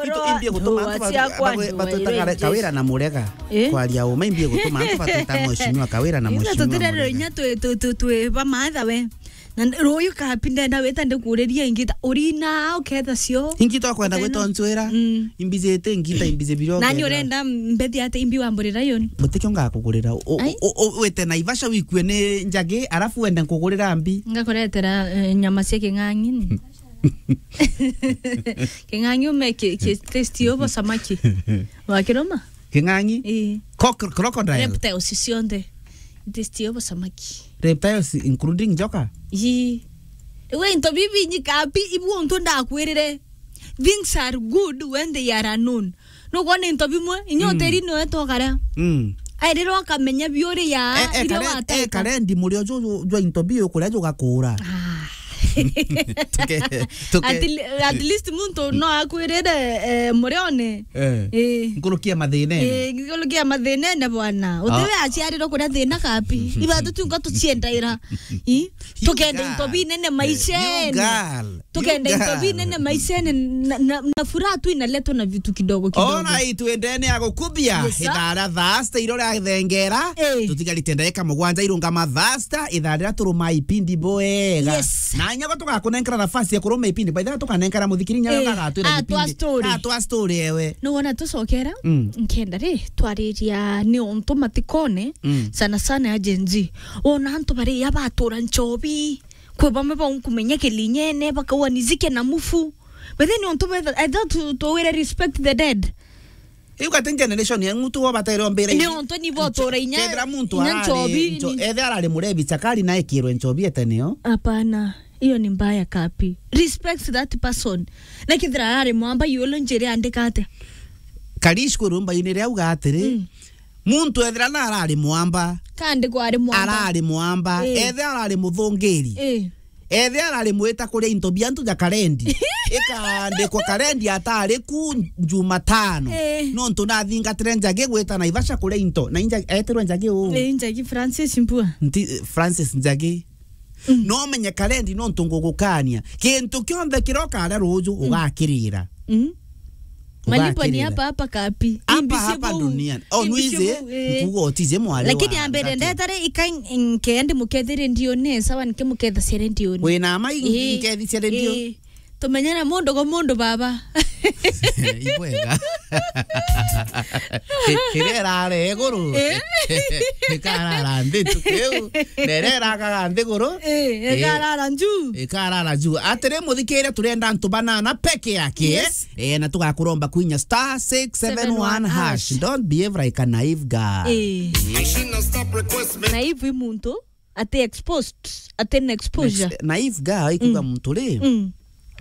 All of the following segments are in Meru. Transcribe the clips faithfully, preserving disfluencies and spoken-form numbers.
Into imbi gutuma antu ba-, cia ba-, kwa ba-, batwita ndwere kare-, Kawira na Murega. Eh? Kwaria uma imbi gutuma antu batwita mheshimiwa Kawira na mheshimiwa Murega. Inya twi, twi, twi, twi ba maatha we. Na ruyu kapi ndenda wita ndikuriria ingita urina uketha cio. Ingita kwenda gwita ncwira. Mm. Imbijite ingita imbije biro. Nani urenda mbethi ate imbi wa mburi Lion? Gutikio ngakugurira. U-, u-, u-, wite Naivasha wikue ni njagi, arafu wende nkugurira mbi. Ngakuretera, eh, nyama cia king'ang'i. King'ang'i ume ki, ki taste yo bo samaki. Wakiroma? King'ang'i? Ii. Coc-, crocodile? Reptiles cionthe. Taste yo bo samaki. Reptiles including njoka? Ii. Iwe into bibi nyikapi ibu untu ndakwirire. Things are good when they are unknown. Nukwona into bimwe, inya mm, utiri niwe tokaria. Mm. Airira ukamenya biuria, e, e, iria kare-, wateta. E, karendi murio ju-, ju-, jwa into biu kuria jugakura. Ah. Tuke-, tuke- At le-, at least muntu no akwirire, eh, murione. Eh. Eh. Nkurukia mathinene. Eh, nkurukia mathinene bwana. Utiwe aciarirwo kuria thina kapi. Iba tutunga tuciendaira. I? You tukenda into girl. Binene maishene. You girl. Tukenda into binene maishene na, na, na furaha tu inaletwa na vitu kidogo kidogo. Ona itwendene ya gukubia. Yes, sir. Ithaa ria thaa sita iro ria thengera. Eh. Tutigarite ndagika mugwanja irungama thaa sita, ithaa riria turuma ipindi bwega. Yes. Na inya go tugakunenkera nafasi ya kuruma ipindi. By the way, tukanenkera muthikiri inya agatwira atwa ipindi. Story. Atwa story ewe. No wona tucokera? Mm. Nkenda ri, twariria ni untu matikone, mm, sana sana ya Gen Z. Wona antu bari ya batura nchobi. Kwi bamwe baunkumenya kilinyene, bakaua nizike na mufu. But then, untu betha, I thought to, to really respect the dead. Iu gati generation ya ngutu wo batere ombere. Ni untu ni botora inya, kethira muntu inya arari nchobi, ncho-, ni- ethe arari murebi chakari na ekirwe nchobi eteneo. Hapana, hiyo ni mbaya kapi. Respect that person. Na kethira arari mwamba yolo njere andika ate. Karish kurumba inire auga atiri. Mm. Muntu ethira na arari mwamba. Kandi kwari mwamba. Arari mwamba. Eh. Ethira arari muthungiri. Eh. Ethira arari mwita kuria into bia antu ja karendi. Ikandikwa karendi atari ku Jumatano. Eh. Nontu nathingatire njagi gwita Naivasha kuria into. Na inja-, etirwe njagi uu. Eh, njagi Francis Mbua. Nti-, Francis Njagi. Mm. No menye karendi nontu ngugukania. Kintu kionthe kiria ukaria ruju, mm, ugakirira. Mm. Malipo ni ugakirira. Hapa hapa kapi. Hapa hapa duniani. Oh, imbi cia nwize, bou, eh. Nkuga utije mwari. Lakini wa ambere ngati. Ndetare ika n-, nkendi mukethere ndione, sawa, nke muketha cere ndione. Wina ma i-, eh, nkethi cere ndione. Eh. Tumenyana mundu go mundu baba. Ibwega. Iria irare iguru. Eh? Ikarara nthi tu kiu. Na iria irakaga nthi iguru. Eh, eh, ikarara nju. Ikarara nju. Atiri muthikire, turenda antu banana peke yake. Yes. Eh, na tugakuromba kwinya star six seven one hash. Seven one hash. Don't behave like a naive girl. Eh. Naive i muntu ati exposed, ati na exposure. Ex-, naive girl ikuga, mm, muntu ri, mm,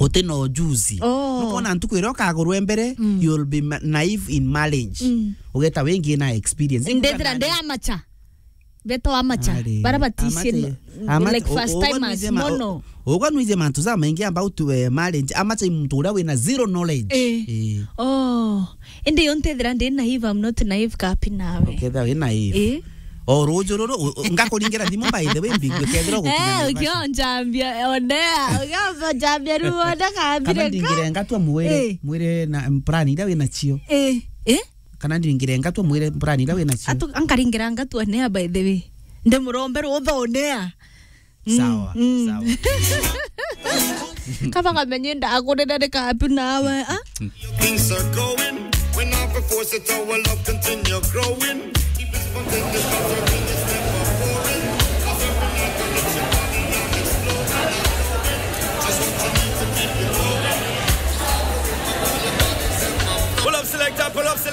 uti na ujuzi. Oh. Nukona ntuku iria ukagurwe mbere, mm, you'll be ma-, naive in marriage. Mm. Ugeta wingi na experience. Ndethira ndi amateur. Beto amateur. Ari, bara batisi amateur, no, amateur, like, first timers, mono. Ugwa nwije mantu ja maingi about, eh, marriage. Amateur i muntu uria wina zero knowledge. Eh. Eh. Oh. Indi yo ntethira ndi naive, I'm not naive kapi nawe. Ukethira wi naive. Eh. O ruju ruru, u-, u-, ngakuringira thimu by the way, mbigwe kethira ugukinya. Eh, Naivasha. Ukionjambia, onea. Ukionjambia riu, ona kabire. Kana ndingire ngatwa mwire, eh, mwire na plan iria wina cio. Eh. Eh? Kana ndingire ngatwa mwire plan iria wina cio. Atu-, ankaringira ngatwa nea, by the way. Ndimurombe rutha onea. Mm, sawa, mm, sawa. Kaba kamenye ndagurire ni kapi nawe, ah? Things are going, we not force it, our love continue growing.